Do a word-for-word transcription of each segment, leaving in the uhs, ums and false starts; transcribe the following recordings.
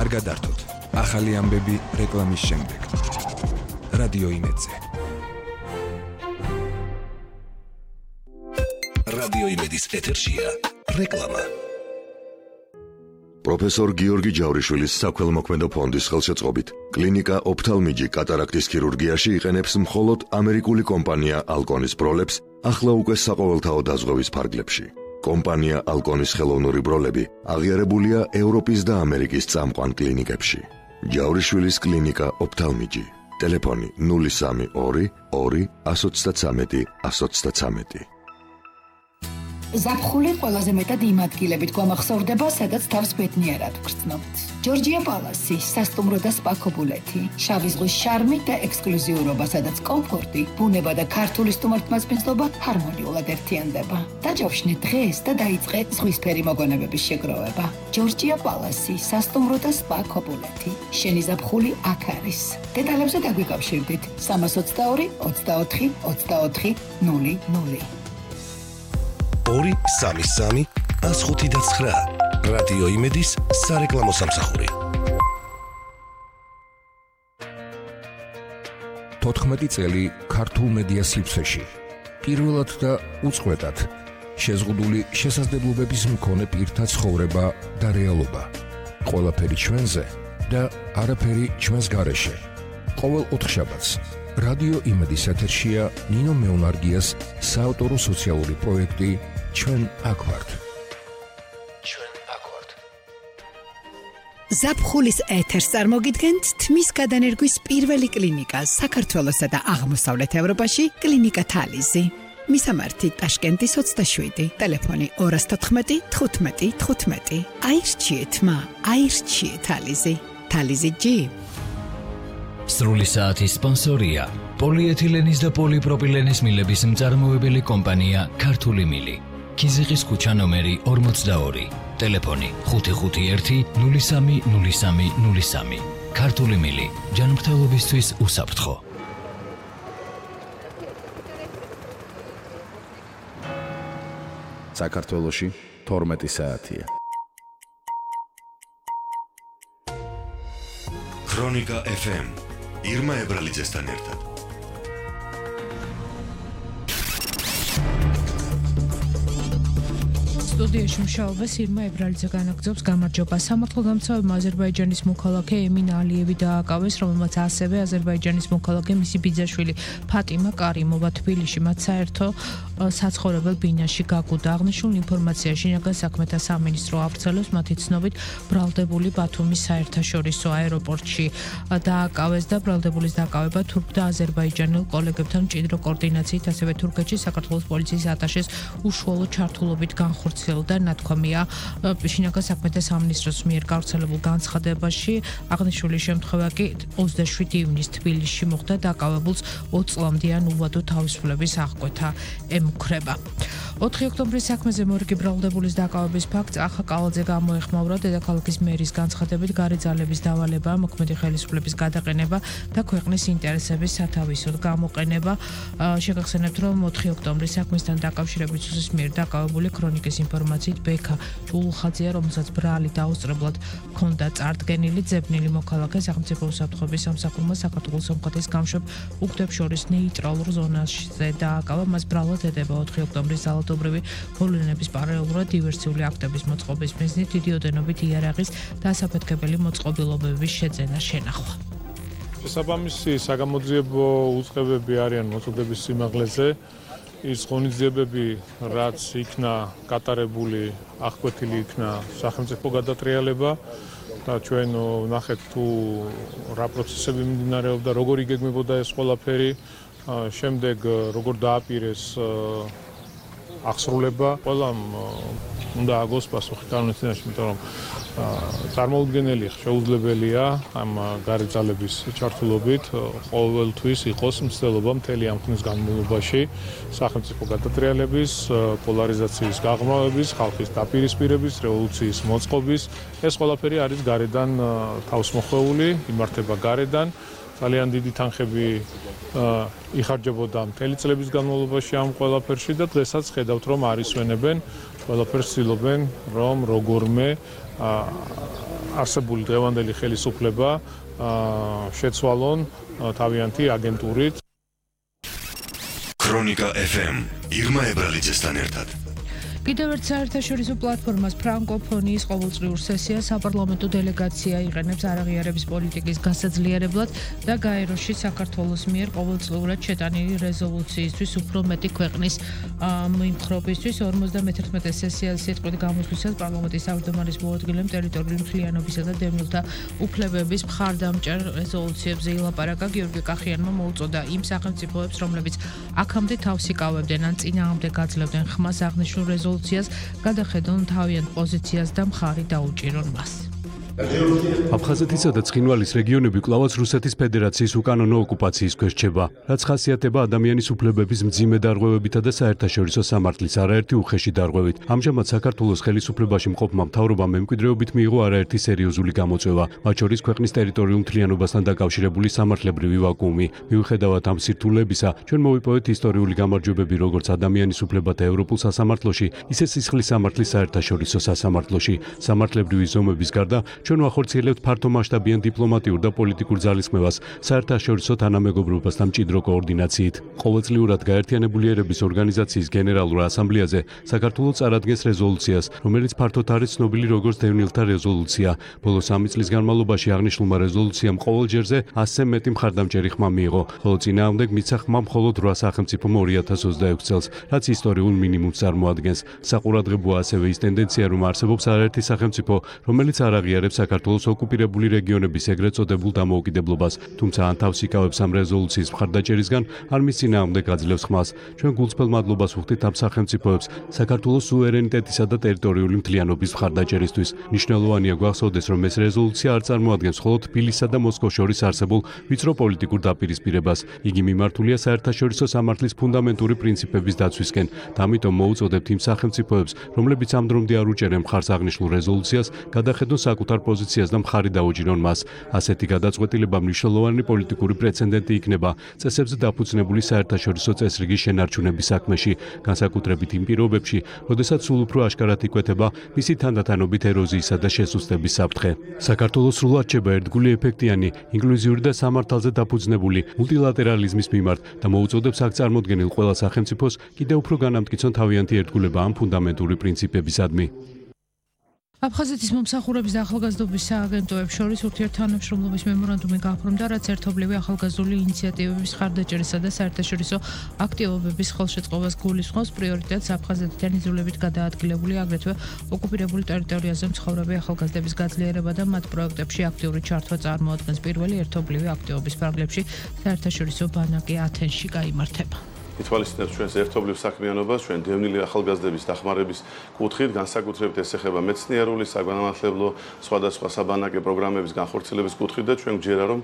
არ გადართოთ. ახალი ამბები რეკლამის შემდეგ. რადიო იმედზე. რადიო იმედის ეთერშია რეკლამა. პროფესორ გიორგი ჯავრიშვილის საქველმოქმედო ფონდის ხელშეწყობით კლინიკა ოფთალმიჯი კატარაქტის ქირურგიაში იყენებს მხოლოდ ამერიკული კომპანია ალკონის ბროლებს ახლა უკვე საყოველთაო დაზღვევის ფარგლებში. კომპანია ალკონის ხელოვნური ბროლები აღიარებულია ევროპის და ამერიკის წამყვან კლინიკებში. ჯავრიშვილის კლინიკა ოფთალმიჯი. ტელეფონი ნული სამი ორი ორი ასი ცხრამეტი ასი ცხრამეტი. ზაფხული ყველაზე მეტად იმ ადგილებით გვამახსოვრდება, სადაც თავს ბედნიერად ვგრძნობთ. ჯორჯია პალასი, სასტუმრო და სპა ქობულეთი, შავი ზღვის შარმი და ექსკლუზიურობა, სადაც კომფორტი, ბუნება და ქართული სტუმართმასპინძლობა ჰარმონიულად ერთიანდება. დაჯავშნე დღეს და დაიწყე ზღვისფერი მოგონებების შეგროვება. ჯორჯია პალასი, სასტუმრო და სპა ქობულეთი. შენი ზაფხული აქ არის. დეტალებზე დაგვიკავშირდით სამას ოცდაორი ოცდაოთხი ოცდაოთხი ნული ნული. ორი სამი სამი ას ხუთი და ცხრა. რადიო იმედის სარეკლამო სამსახური. თოთხმეტი წელი ქართულ მედია სივრცეში. პირველად და უწყვეტად შეზღუდული შესაძლებლობების მქონე პირთა ცხოვრება და რეალობა. ყველაფერი ჩვენზე და არაფერი ჩვენს გარეშე. ყოველ ოთხშაბათს რადიო იმედის ეთერშია ნინო მეუნარგიას საავტორო სოციალური პროექტი ჩვენ აქ ვართ. ჩვენ აქ ვართ. ზაფხულის ეთერს წარმოგიდგენთ თმის გადანერგვის პირველი კლინიკა საქართველოსა და აღმოსავლეთ ევროპაში კლინიკა თალიზი. მისამართი ტაშკენტის ოცდაშვიდი, ტელეფონი ორი თოთხმეტი თხუთმეტი თხუთმეტი. აირჩიეთ მა, აირჩიეთ თალიზი. თალიზი ჯი. სრული საათის სპონსორია პოლიეთილენის და პოლიპროპილენის მილების მწარმოებელი კომპანია ქართული მილი. ქიზიყის ქუჩა ნომერი ორმოცდაორი, ტელეფონი ხუთი ხუთი ერთი ნული სამი ნული სამი ნული სამი. ქართული მილი, ჯანმრთელობისთვის უსაფრთხო. საქართველოში თორმეტი საათია. ქრონიკა ეფ ემ ირმა ებრალიძესთან ერთად. სტუდიაში მუშაობას ირმა ებრალიძე განაგრძობს. გამარჯობა. სამართალდამცავებმა აზერბაიჯანის მოქალაქე ემინ ალიევი დააკავეს, რომელმაც ასევე აზერბაიჯანის მოქალაქე მისი ბიძაშვილი ფატიმა კარიმოვა თბილისში მათ საერთო საცხოვრებელ ბინაში გაგუდა. აღნიშნულ ინფორმაცია შინაგან საქმეთა სამინისტრო ავრცელებს. მათი ცნობით ბრალდებული ბათუმის საერთაშორისო აეროპორტში დააკავეს და ბრალდებულის დააკავება თურქ და აზერბაიჯანელ კოლეგებთან მჭიდრო კოორდინაციით, ასევე თურქეთში საქართველოს პოლიციის ატაშეს უშუალო ჩართულობით განხორციელდა. ნათქვამია შინაგან საქმეთა სამინისტროს მიერ გავრცელებულ განცხადებაში. აღნიშნული შემთხვევა კი ოცდაშვიდი ივნისს თბილისში მოხდა. დააკავებულს ოც წლამდიან უვადო თავისუფლების აღკვეთა ემუქრება. ოთხი ოქტომბრის საქმეზე მორიგი ბრალდებულის დააკავების ფაქტს ახა კალაძე გამოეხმაურა. დედაქალაქის მერის განცხადებით გარე ძალების დავალება, მოქმედი ხელისუფლების გადაყენება და ქვეყნის ინტერესების სათავისოდ გამოყენება. შეგახსენებთ, რომ ოთხი ოქტომბრის საქმესთან დაკავშირებით სუსის მიერ დააკავებული ქრონიკის ინფორმაციით ბექა ჭულხაძეა, რომელსაც ბრალი დაუსწრებლად ჰქონდა წარდგენილი. ძებნილი მოქალაქე სახელმწიფო უსაფრთხოების სამსახურმა საქართველოს სომხეთის გამშვებ უგდებს შორის ნეიტრალურ ზონაზე დააკავა. მას ბრალად ედება ოთხი ოქტომბრის ძალადობრივი მოვლენების პარალელურად დივერსიული აქტების მოწყობის მიზნით დიდი ოდენობით იარაღის და ასაფეთქებელი მოწყობილობების შეძენა შენახვა. შესაბამისი საგამოძიებო უწყებები არიან მოწოდების სიმაღლეზე. ის ღონისძიებები, რაც იქნა გატარებული, აღკვეთილი იქნა სახელმწიფო გადატრიალება და ჩვენ ვნახეთ თუ რა პროცესები მიმდინარეობდა, როგორ იგეგმებოდა ეს ყველაფერი, შემდეგ როგორ დააპირეს აღსრულება. ყველამ უნდა აგოს პასუხი კანონის წინაშე, იმიტომ რომ წარმოუდგენელი შეუძლებელია ამ გარე ძალების ჩართულობით ყოველთვის იყოს მცდელობა მთელი ამ ხნის განმავლობაში სახელმწიფო გადატრიალების, პოლარიზაციის გაღრმავების, ხალხის დაპირისპირების, რევოლუციის მოწყობის. ეს ყველაფერი არის გარედან თავსმოხვეული, იმართება გარედან. ძალიან დიდი თანხები იხარჯებოდა მთელი წლების განმავლობაში ამ ყველაფერში და დღესაც ხედავთ, რომ არ ისვენებენ, ყველაფერს ცდილობენ, რომ როგორმე არსებული დღევანდელი ხელისუფლება შეცვალონ თავიანთი აგენტურით. ქრონიკა ეფ ემ ირმა ებრალიძესთან ერთად. კიდევ ერთ საერთაშორისო პლატფორმას ფრანკოფონიის ყოველწლიურ სესიას საპარლამენტო დელეგაცია იყენებს არაღიარების პოლიტიკის გასაძლიერებლად და გაეროში საქართველოს მიერ ყოველწლიურად შეტანილი რეზოლუციისთვის უფრო მეტი ქვეყნის მიმხრობისთვის ორმოცდამეთერთმეტე სესიას სიტყვით გამოსვლისას პარლამენტის თავმჯდომარის მოადგილემ ტერიტორიული მთლიანობისა და დევნილთა უფლებების მხარდამჭერ რეზოლუციებზე ილაპარაკა. გიორგი კახიანმა მოუწოდა იმ სახელმწიფოებს, რომლებიც აქამდე თავს იკავებდნენ ან წინააღმდეგ გაძლევდნენ ხმას აღნიშნულ რეზოლუციას გადახედონ თავიანთ პოზიციას და მხარი დაუჭირონ მას. აფხაზეთისა და ცხინვალის რეგიონები კვლავაც რუსეთის ფედერაციის უკანონო ოკუპაციის ქვეშ რჩება, რაც ხასიათდება ადამიანის უფლებების მძიმე დარღვევებითა და საერთაშორისო სამართლის არაერთი უხეში დარღვევით. ამჟამად საქართველოს ხელისუფლებაში მყოფმა მთავრობამ მემკვიდრეობით მიიღო არაერთი სერიოზული გამოწვევა, მათ შორის ქვეყნის ტერიტორიულ მთლიანობასთან დაკავშირებული სამართლებრივი ვაკუუმი. მიუხედავად ამ სირთულეებისა, ჩვენ მოვიპოვეთ ისტორიული გამარჯვებები როგორც ადამიანის უფლებათა ევროპულ სასამართლოში, ისე სისხლის სამართლის საერთაშორისო სასამართლოში. სამართლებრივი ზომების გარდა ჩვენ ვახორციელებთ ფართომასშტაბიან დიპლომატიურ და პოლიტიკურ ძალისხმევას საერთაშორისო თანამეგობრობასთან მჭიდრო კოორდინაციით. ყოველწლიურად გაერთიანებული ერების ორგანიზაციის გენერალურ ასამბლეაზე საქართველოს წარადგენს რეზოლუციას, რომელიც ფართოდ არის ცნობილი როგორც დევნილთა რეზოლუცია. ბოლო სამი წლის განმავლობაში აღნიშნულმა რეზოლუციამ ყოველ ჯერზე ასზე მეტი მხარდამჭერი ხმა მიიღო, ხოლო წინააღმდეგ მისცა ხმა მხოლოდ რვა სახელმწიფომ ორი ათას ოცდაექვსი წელს, რაც ისტორიულ მინიმუმს წარმოადგენს. საყურადღებოა ასევე ის ტენდენცია, რომ არსებობს არაერთი სახელმწიფო, რომელიც არ აღიარებს საქართველოს ოკუპირებული რეგიონების ეგრეთ წოდებულ დამოუკიდებლობას, თუმცა ან თავს იკავებს ამ რეზოლუციის მხარდაჭერისგან, ან მის წინააღმდეგ აძლევს ხმას. ჩვენ გულწრფელ მადლობას ვუხდით ამ სახელმწიფოებს საქართველოს სუვერენიტეტისა და ტერიტორიული მთლიანობის მხარდაჭერისთვის. მნიშვნელოვანია გვახსოვდეს, რომ ეს რეზოლუცია არ წარმოადგენს მხოლოდ თბილისსა და მოსკოვს შორის არსებულ ვიწრო პოლიტიკურ დაპირისპირებას. იგი მიმართულია საერთაშორისო სამართლის ფუნდამენტური პრინციპების დაცვისკენ და ამიტომ მოუწოდებთ იმ სახელმწიფოებს, რომლებიც ამ დრომდე არ უჭერენ მხარს აღნიშნულ რეზოლუციას, გადახედონ საკუთარ პოზიციას და მხარი დაუჭირონ მას. ასეთი გადაწყვეტილება მნიშვნელოვანი პოლიტიკური პრეცედენტი იქნება წესებზე დაფუძნებული საერთაშორისო წესრიგის შენარჩუნების საქმეში, განსაკუთრებით იმ პირობებში, როდესაც სულ უფრო აშკარად იკვეთება მისი თანდათანობით ეროზიისა და შესუსტების საფრთხე. საქართველოს სრულად რჩება ერთგული, ეფექტიანი, ინკლუზიური და სამართალზე დაფუძნებული მულტილატერალიზმის მიმართ და მოუწოდებს აქ წარმოდგენილ ყველა სახელმწიფოს კიდევ უფრო განამტკიცონ თავიანთი ერთგულება ამ ფუნდამენტური პრინციპებისადმი. აფხაზეთის მომსახურების და ახალგაზრდობის სააგენტოებს შორის ურთიერთთანამშრომლობის მემორანდუმი გაფორმდა, რაც ერთობლივი ახალგაზრდული ინიციატივების მხარდაჭერისა და საერთაშორისო აქტივობების ხელშეწყობას გულისხმობს. პრიორიტეტს აფხაზეთიდან იზოლებით გადაადგილებული, აგრეთვე ოკუპირებული ტერიტორიაზე მცხოვრები ახალგაზრდების გაძლიერება და მათ პროექტებში აქტიური ჩართვა წარმოადგენს. პირველი ერთობლივი აქტივობის ფარგლებში საერთაშორისო ბანაკი ათენში გაიმართება. ითვალისწინებს ჩვენს ერთობლივ საქმიანობას, ჩვენ დევნილი ახალგაზრდების დახმარების კუთხით, განსაკუთრებით ეს ეხება მეცნიერული, საგანმანათლებლო, სხვადასხვა საბანაკე პროგრამების განხორციელების კუთხით და ჩვენ გვჯერა, რომ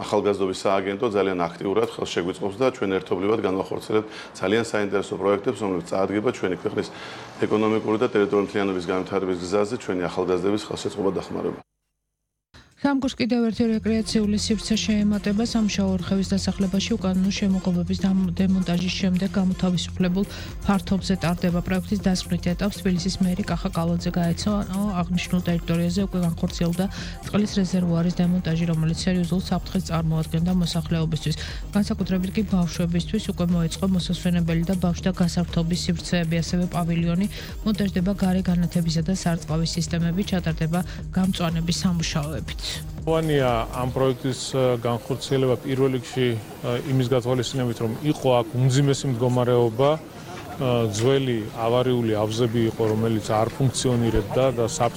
ახალგაზრდობის სააგენტო ძალიან აქტიურად ხელს შეგვიწყობს და ჩვენ ერთობლივად განვახორციელებთ ძალიან საინტერესო პროექტებს, რომლებიც წაადგება ჩვენი ქვეყნის ეკონომიკური და ტერიტორიული მთლიანობის განვითარების გზაზე ჩვენი ახალგაზრდების ხელშეწყობა დახმარება. სამგურს კიდევ ერთი რეკრეაციული სივრცე შეემატება. სამუშაო ორხევის დასახლებაში უკანონო შემოღობების დემონტაჟის შემდეგ გამოთავისუფლებულ ფართობზე ტარდება. პროექტის დასკვნით ეტაპს თბილისის მერი კახა კალაძე გაეცო, აღნიშნულ ტერიტორიაზე უკვე განხორციელდა წყლის რეზერვუარის დემონტაჟი, რომელიც სერიოზულ საფრთხეს წარმოადგენდა მოსახლეობისთვის. განსაკუთრებით კი ბავშვებისთვის უკვე მოეწყო მოსასვენებელი და ბავშვთა გასართობის სივრცეები, ასევე პავილიონი, მონტაჟდება გარე განათებისა და სარწყავის სისტემები, ჩატარდება გამწვანების სამუშაოებიც. ვანია ამ პროექტის განხორციელება პირველ რიგში იმის გათვალისწინებით, რომ იყო აქ უმძიმესი მდგომარეობა, ძველი ავარიული აბზები იყო, რომელიც არ ფუნქციონირებდა და